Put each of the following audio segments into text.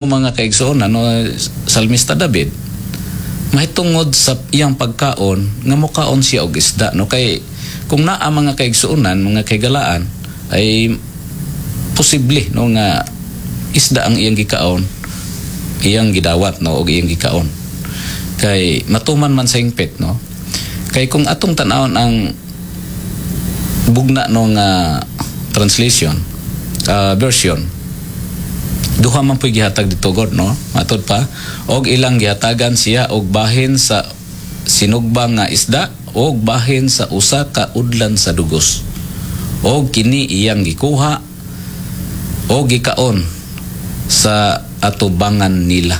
Mga kaigsoon, ano, Salmista David mahitungod sa iyang pagkaon nga mokaon siya og isda, no? Kay kung naa, mga kaigsuonan, mga kaigalaan, ay posible, no, nga isda ang iyang gikaon, iyang gidawat, no, og iyang gikaon kay matuman man sa hingpit, no? Kay kung atong tan-awon ang bugna, no, nga translation, version, duha man po'y gihatag dito god, no? Matod pa, og ilang gihatagan siya og bahin sa sinugba nga isda og bahin sa usa ka udlan sa dugos, og kini iyang gikuha og gikaon sa atubangan nila.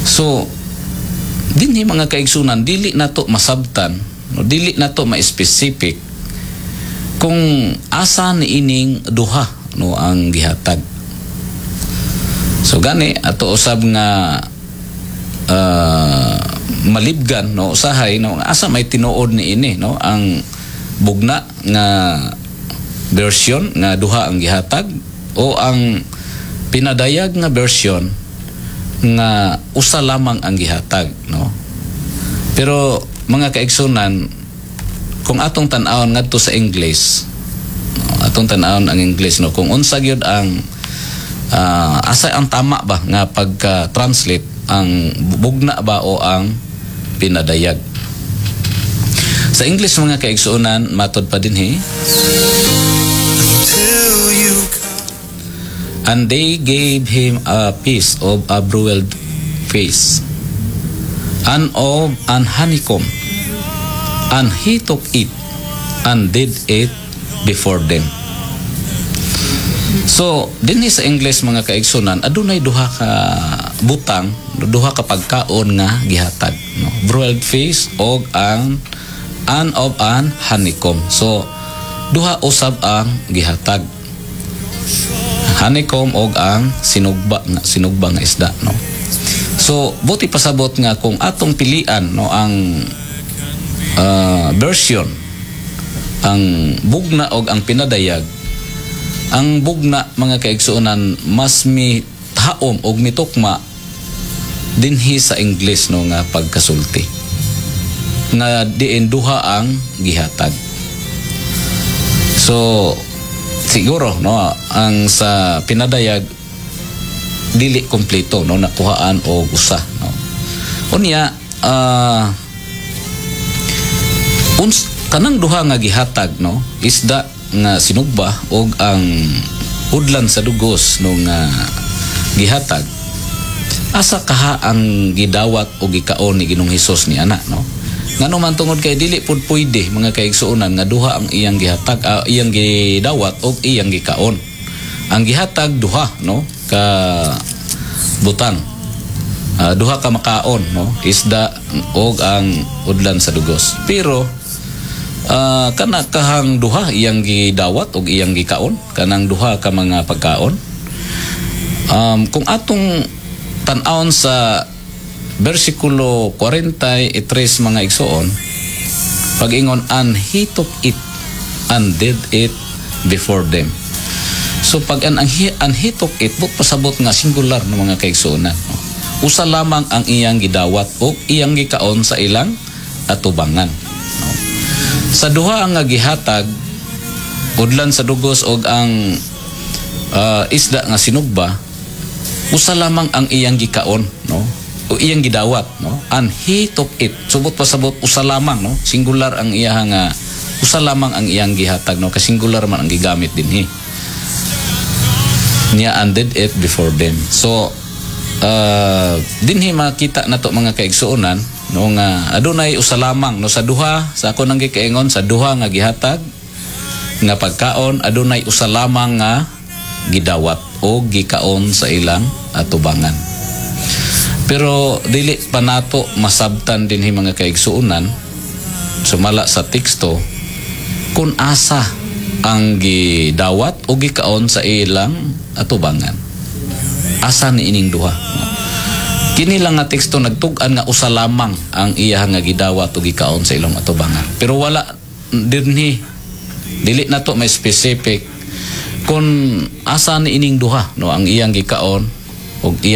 So dinhi, mga kaigsunan, dili nato masabtan, no, dili nato ma-specific kung asa ni ining duha, no, ang gihatag. So gani ato usab nga malibgan, no, usahay, no, asa may tinuod ni ini, no, ang bugna nga version nga duha ang gihatag o ang pinadayag nga version nga usa lamang ang gihatag, no? Pero mga kaigsunan, kung atong tan-awon ngadto sa English, no, atong tan-awon ang English, no, kung unsa gyud ang asa ang tama ba nga pagka-translate, ang bugna ba o ang pinadayag? Sa English, mga kaigsuonan, matod pa dinhi, Until you come. "And they gave him a piece of a broiled fish and of an honeycomb, and he took it and did it before them." So, dinhi sa English, mga kaigsunan, adunay duha ka butang, duha ka pagkaon nga gihatag, no? Broiled fish og ang and of an honeycomb. So, duha usab ang gihatag. Honeycomb og ang sinugba nga isda, no? So, buot ipasabot nga kung atong pilian, no, ang version, ang bugna og ang pinadayag, ang bugna, mga kaigsuonan, mas mi taom og mitukma dinhi sa English, no, nga pagkasulti nga diin duha ang gihatag. So siguro, no, ang sa pinadayag dili kompleto, no, nakuhaan og usa, no? Unya kanang duha nga gihatag, no, isda nga sinugba og ang udlan sa dugos, no, nga gihatag, asa kaha ang gidawat o gikaon ni Ginoong Hesus ni ana, no? Ngano man tungod kay dili pud pwede, mga kaigsuonan, nga duha ang iyang gihatag, iyang gidawat og iyang gikaon. Ang gihatag duha, no, ka butang. Duha ka makaon, no, isda og ang udlan sa dugos. Pero kana kahang duha iyang gidawat og iyang gikaon, kanang duha ka mga pagkaon? Kung atong tan-awon sa versikulo 43, mga igsoon, pag-ingon, "And he took it and did it before them." So pag an, ang he, "and he took it," buot pasabot nga singular ng mga kaigsuonan, no? Usa lamang ang iyang gidawat o iyang gikaon sa ilang atubangan, no? Sa duha nga gihatag, udlan sa dugos og ang isda nga sinugba, usa lamang ang iyang gikaon, no, o iyang gidawat, no? "And he took it." So buot pasabot usa lamang, no? Singular ang iyang nga usa lamang ang iyang gihatag, no, kay singular man ang gigamit dinhi niya, "and did it before them." So dinhi makita nato, mga kaigsuonan, no, nga adunay usa lamang, no, sa duha. Sa ako nang gikaingon, sa duha nga gihatag nga pagkaon, adunay usa lamang nga gidawat o gikaon sa ilang atubangan. Pero dili pa nato masabtan dinhi, mga kaigsuonan, sumala sa teksto, kung asa ang gidawat o gikaon sa ilang atubangan. Asa ni ining duha? Kini lang nga teksto nagtug-an nga usa lamang ang iya nga gidawat o gikaon sa ilang atubangan. Pero wala dinhi, dili nato may specific kung asa ni ining duha, no, ang iyang gikaon. Og iya